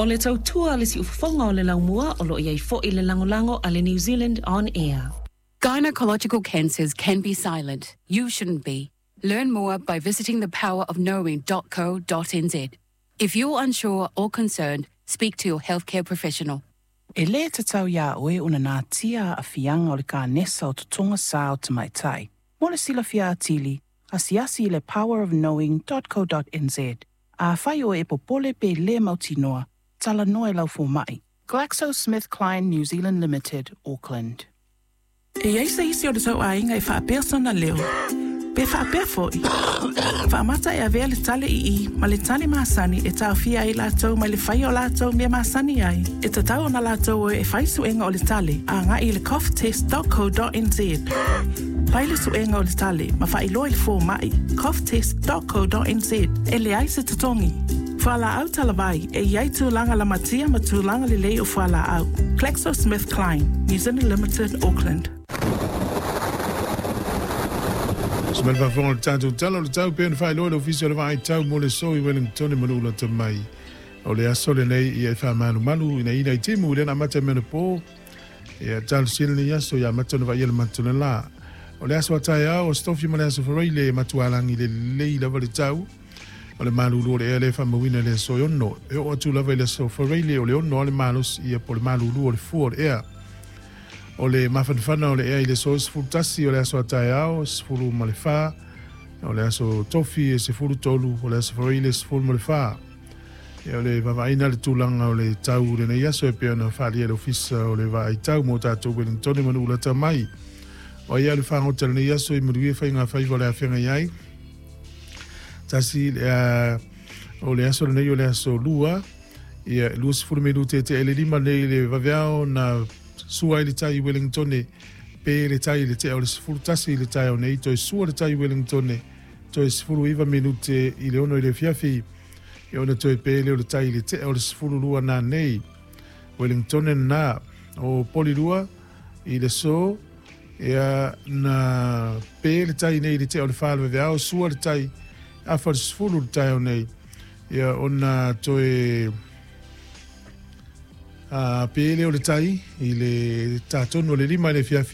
O le tautua a le siufofoga o le laumua o lo o i ai foi le lagolago a le New Zealand On Air. Gynecological cancers can be silent. You shouldn't be. Learn more by visiting thepowerofknowing.co.nz. If you're unsure or concerned, speak to your healthcare professional. E lē tatau iā oe ona natia aafiaga o le kanesa o totoga sā o tamaitai. Mo le silafia atili, asiasi i le powerofknowing.co.nz. Afai oe e popole pe lē mautinoa, talanoa i lau fomaʻi. GlaxoSmithKline New Zealand Limited, Auckland. E i ai se isi o le tou aiga e faapea sona leo? Pe faapea foi? Faamata e avea le tale ii ma le tale masani e taofia ai latou mai le faia o latou mea masani ai. E tatau ona latou o e fai suega o le tale agai i le coughtest.co.nz. Fai le suega o le tale ma faailoa i le fomaʻi coughtest.co.nz. E leai se totogi. Fualaau talavai e i ai tulaga lamatia ma tulaga lelei o fualaau. GlaxoSmithKline, New Zealand Limited, Auckland. Se mai le faafofoga o le tatou Tala o le Tau pei ona faailoa e le Ofisa o le Vaai Tau mo le So i Wellington ma Nu'ulata mai. O le aso lenei ia e faamalumalu inaina i timu i lena amata mai anapo. Ia talosia lenei aso ia amata ona vaaia le mata o le la. O le aso a taeao o Aso Tofi ma le Aso Faraile e matualagi lelei lava le tau. O le malulu o le ea lea e faamauina i le aso e 6. E oo atu lava i le Aso Faraile o le 6 lava le malosi ia po o le malulu o le fua o le ea. O le mafanafana o le ea i le aso 11 o le aso a taeao, 14 o le aso Tofi e 13 o le Aso Faraile 14. Ia o le vaavaaina le tulaga o le tau i lenei aso e pei ona faaalia e le Ofisa o le Vaai Tau mo tatou Wellingtone ma Nu'ulata mai. O ai a le fagota i lenei aso i manuia faigafaiva o le afeagai ai. Tasi le o le aso lenei o le aso lua, ia 20 minute tea i le 5 nei le vaveao na sua ai le tai i Wellingtone, pe le tai i le tea o le 11 i le taeao nei, toe sua le tai i Wellingtone, toe 19 minute i le 6 i le afiafi, ia ona toe pe lea o le tai i le tea o le 12 nanei. Wellingtone na o Polirua i le so, ia na pe le tai nei i le tea o le 4 le vaveao, sua le tai afa le 10 le taeao nei, ia ona toe pe lea o le tai i le tatonu o le 5 i le afiafi.